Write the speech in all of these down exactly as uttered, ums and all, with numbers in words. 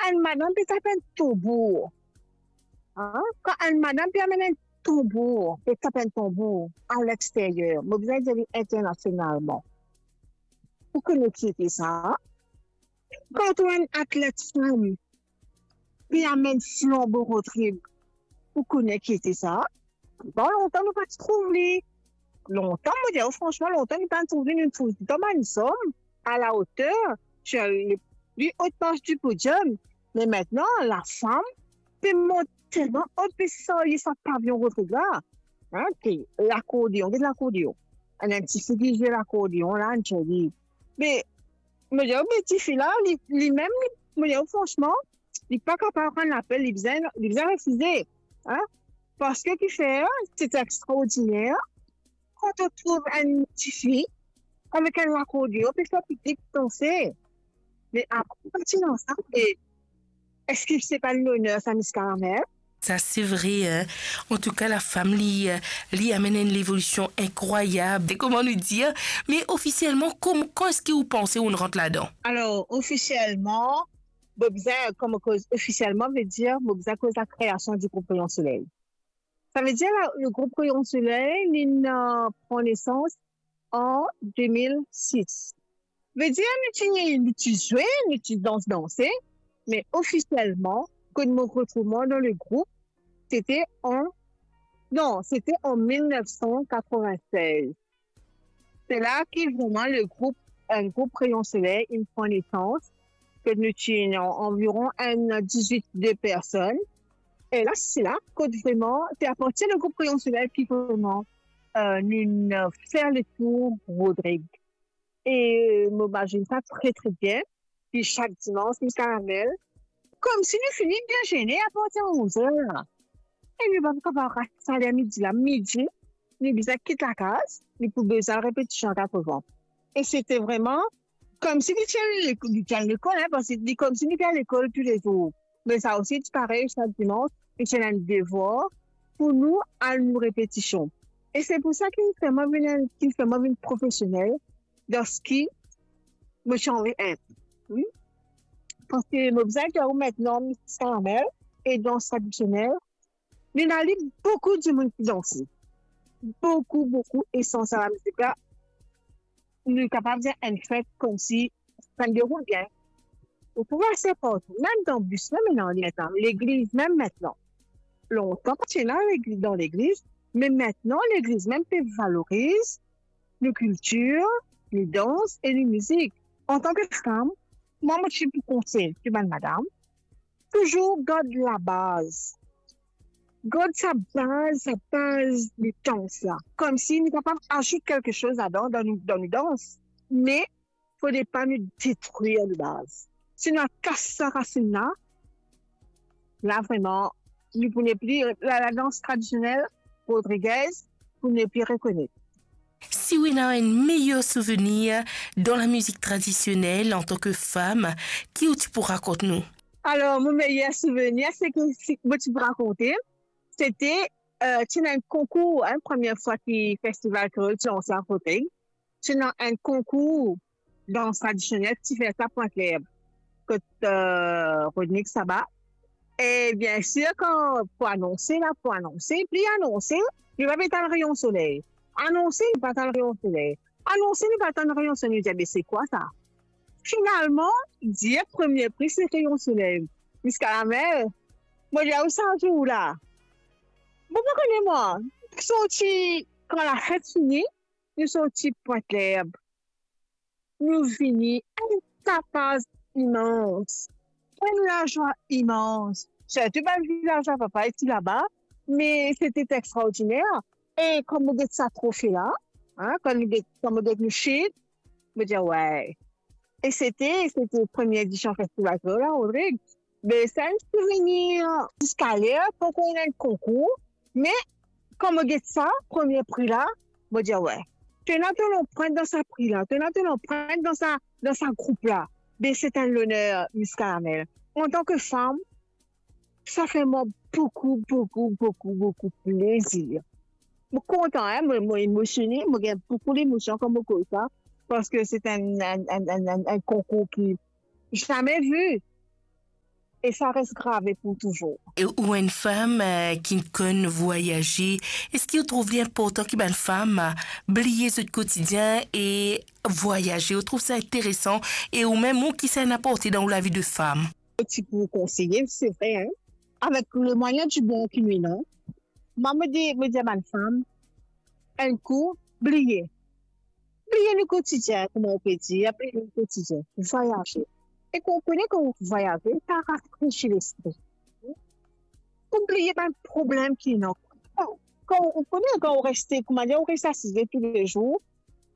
enn madam pe tap enn tanbour, an? Kan enn madam pe amenn enn tanbour, pe tap enn tanbour alexteryer, mo bizin dir li internasionalman, ou kone ki ete sa? Kan ou trouv enn atlet fam pe amenn flanbo Rodrig, ou kone ki ete sa? Bon, lontan nou pa ti trouv li. Lontan, mo dir ou fransman, lontan nou pa ti trouv li, nou trouv li dan bann zom a la oter, sur le plus haute marche du podium. Me aster, lafam pe mont telman o, pe sarye sa pavion Rodrig la, an, ki lakordeon, get lakordeon. Enn, enn tifi ki zwe lakordeon la, enn zoli. Me, mo dir ou, me tifi la, li, limem, li, mo dir ou fransman, li pa kapav rann lapel, li bizin, li bizin refize, an? Parski kifer, sete extraordiner, kan to trouv enn tifi avek enn lakordeon, pe fer piblik danse. Me apre, pa ti dan sa, e eski se pa enn loner sa, Miss Caramel? Sa se vre, en. Antouka, lafam, li, li amenn enn levolision inkrwayab. Se kouma nou dir, me ofisielman, kom-, kan eski ou panse ou'nn rant ladan? Alor, ofisielman, mo bizin, kan mo koz ofisielman, vedir, mo bizin koz lakreasion di group Rayon Soley. Savedir, la, le group Rayon Soley, li'nn, euh, pran nesans an de mil sis. Vedir, nou ti, nou ti zwe, nou ti dans, danse, me ofisielman, kot mo retrouv mwa dan le group, sete an, non, sete an mil nef san katrovin-sez. Se la ki vreman le group, enn group Rayon Soley, inn pran nesans, kot nou ti anviron enn dizwit de personn. E la, se la kot vreman, se apartir le group Rayon Soley ki vreman, euh, nou, euh, fer le tour Rodrig. E mo mazinn sa tre, tre bien. Pi sak dimans, Miss Caramel, koumsi nou fini bien zene apartir onz-er la. E nou pa pou kapav rat sa ler midi la. Midi, nou bizin kit lakaz, nou pou bizin al repetision a katrovin. E sete vreman koumsi nou ti al lek-, nou ti al lekol, en, parski li koumsi nou ti al lekol toulezour. Me sa osi, ti parey, sak dimans, nou ti ena enn devwar pou nou al nou repetision. E se pou sa ki fer mwa vinn, ki fer mwa vinn profesionel dan seki mo ti anvi et. Wi. Parski mo bizin dir ou, aster, Miss Caramel e dans tradisionel, nou ena li boukou dimoun ki danse. Boukou, boukou, e san sa, lamizik la, nou kapav dir enn fet koumsi sa deroul bien. Ou pou vwar sa partou, mem dan bis, mem ena, mem dan legliz, mem aster. Lontan pa ti ena legliz, dan legliz, me aster legliz mem pe valoriz nou kiltir, nou dans e nou mizik. Antan ki fam, mwa, mo ti pou konsey tou bann madam, touzour gard labaz. Gard sa baz, sa baz de dans la. Koumsi nou kapav azout kelke soz ladan, dan nou, dan nou dans. Me fode pa nou detrir nou baz. Si nou al kas sa rasinn la, la vreman, nou pou nepli, la, ladans tradisionel Rodriguez pou nepli rekonet. Si ou ena enn meyer souvenir dan lamizik tradisionel antan ki fam, ki ou ti pou rakont nou? Alor, mo meyer souvenir, se ki, si mo ti pou rakonte, sete, euh, ti ena enn konkour, en, premie fwa ki Festival Kreol ti lanse a Rodrig. Ti ena enn konkour dans tradisionel ki ti fer sa Pwint Lerb, kot, euh, Rodrig Saba. E biensir, kan pou anonse la, pou anonse, pli anonse, nou pa pe tann Rayon Soley. Anonse, nou pa tann Rayon Soley. Anonse, nou pa tann Rayon Soley. Nou dir, "Be, se kwa sa?" Finalman, dir premie pri se Rayon Soley. Miss Caramel, mo dir ou sa zour la, mo pa kone mwa, sorti, kan lafet fini, nou sorti Pwint Lerb, nou vini, enn tapaz imans, enn lazwa imans. Sirtou bann vilazwa, papa, ete laba, me sete extraordiner. E kan mo get sa trofe la, en, kan nou get, kan mo get nou sheet, mo dir, "Wey." E sete, sete premie edision Festival Kreol la, Rodrig. Be, sa enn souvenir. Ziska ler, poko ena enn konkour, me kan mo get sa, premie pri la, mo dir, "Wey." To ena to lanprint dan sa pri la, to ena to lanprint dan sa, dan sa group la. Be, se enn loner, Miss Caramel. Antan ki fam, sa fer mwa boukou, boukou, boukou, boukou plezir. Mo kontan, en, mo, mo emosione, mo gagn boukou lemosion kan mo koz sa, parski se enn, enn, enn, enn, enn, enn konkour ki zame vi. e sa res grave pou touzour. E ou enn fam, eh, ki konn vwayaze, eski ou trouv li inportan ki bann fam, eh, bliye zot kotidien e vwayaze? Ou trouv sa interesan? E ou mem, ou ki sa inn aporte dan ou lavi de fam? Ti pou konseye, se vre, hein? Avek le mwayen di bor ki nou ena, mwa, mo dir, mo dir bann fam, enn kou, bliye. Bliye nou kotidien, kouma ou pe dir, bliye nou kotidien, vwayaze. E kan ou kone kan ou vwayaze, sa rafresi lespri. Pou bliye bann problem ki ena. Kan, kan ou kone, kan ou reste, kouma dir, ou reste asize toulezour,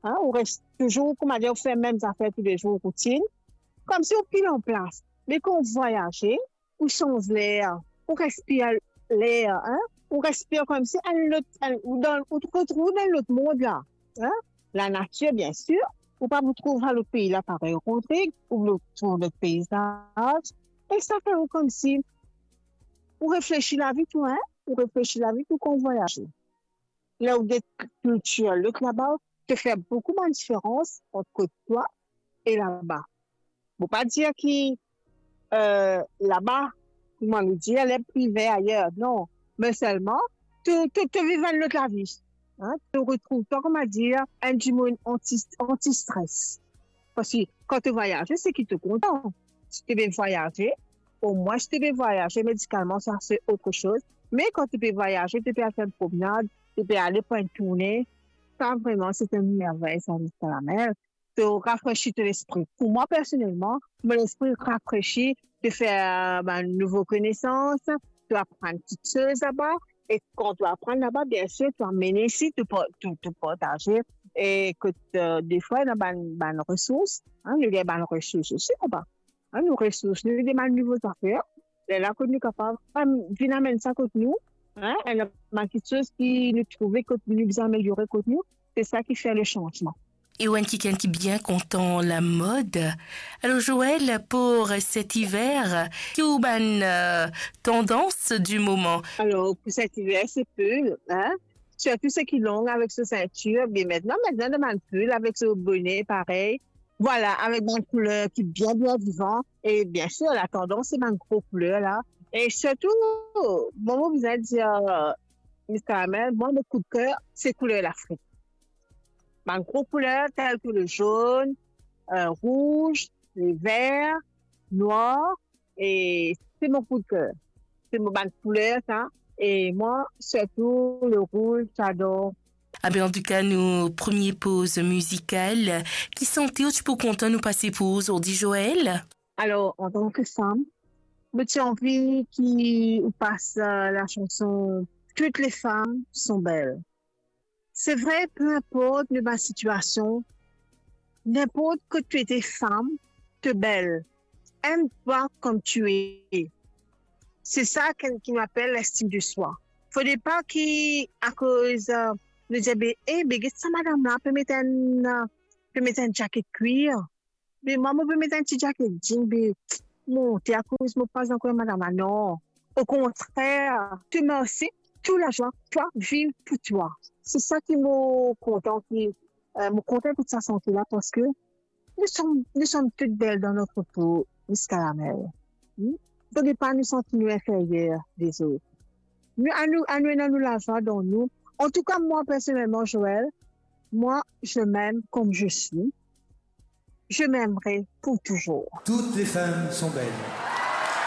hein, ou reste touzour, kouma dir, ou fer mem zafer toulezour, routinn, koumsi ou pil anplas. Me kan ou vwayaze, ou sanz ler, ou respir ler, hein, ou respir koumsi enn lot, enn, ou dan, ou retrouv dan lot mond la, hein. Lanatir, bien sir, ou pa pou trouv sa lot pei la parey, okontrer, ou pou trouv lot peizaz. E sa fer ou koumsi, ou reflesi lavi tou, hein, ou reflesi lavi tou kan ou vwayaze. Ler ou get kiltir lot laba, to fer boukou bann diferans ant kot twa e laba. Mo pa dir ki, eh, laba, kouma nou dir, ler pli ver ayer, non. Me selman, to, to, to viv enn lot lavi. Hein? To retrouv twa, kouma dir, enn dimoun anti, anti-stres. Parski kan to vwayaze, se ki to kontan. Si to pe vwayaze, omwin si to pe vwayaze medikalman, sa se otre soz. Me kan to pe vwayaze, to pe al fer enn promnad, to pe ale pran enn tourne, sa vreman, se enn mervey, sa, Miskalamel. To rafresi to lespri. Pou mwa, personelman, mo lespri rafresi, to fer bann nouvo konesans, to aprann kiksoz laba, e kan to aprann laba, bien sir, to amenn isi, to pa-, to, to partaze, e kot, eh, defwa, ena bann, bann resours, hein, nou gagn bann resours osi laba. Hein, nou resours, nou demann nouvo zafer. Lerla kot nou kapav, em, vinn amenn sa kot nou, hein, enn bann kiksoz ki nou trouve kot nou bizin ameliore kot nou, se sa ki fer le sanzman. E ou enn kikenn ki bien kontan lamod. Alor, Joël, pour cet hiver, ki ou bann, eh, tandans du moment? Alor, pou set iver, se pil, hein? Sirtou seki long avek so sintir, bien, mintnan, mintnan, dan bann pil avek so bone, parey. Vwala, avek bann kouler ki bien, bien vivan. E bien sir, latandans, se bann gro kouler la. E sirtou, mwa, mo bizin dir, eh, Miskalamel, mwa, mo koudker, se kouler Lafrik. Bann gro kouler, tel ki le zonn, eh, rouz, le ver, nwar, e se mo koudker. Se mo bann kouler, sa. E mwa, sirtou le rouz, j'adore. Ah ben, antouka, nou premie poz mizikal. Ki sante ou ti pou kontan nou pase pou ou zordi, Joël? Alor, antan ki fam, mo ti anvi ki ou pas, eh, lasanson Toutes les femmes sont belles. Se vre, pe inport nou bann sitiasion, ninport kot to ete fam, to bel. Aime-toi comme tu es. Se sa ki, ki nou apel lestim de swa. Fode pa ki akoz, eh, nou dir, be, eh, be, get sa madam la, pe met enn, eh, pe met enn zaket kwir. Be mwa, mo pe met enn ti zaket jean, be monte, akoz mo pa ankor madam la, non. Okontrer, to mersi, tou lazwa, twa, viv pou twa. Se sa ki mo kontan ki, eh, mo kontan ekout sa sante la, parski nous sommes, nous sommes toutes belles dans notre peau, Miskalamel. Hmm? Fode pa nou santi nou inferyer lezot. Nou, anou, anou ena nou lazwa dan nou. Antouka, mwa, personelman, Joël, moi, je m'aime comme je suis. Je m'aimerai pour toujours. Toutes les femmes sont belles.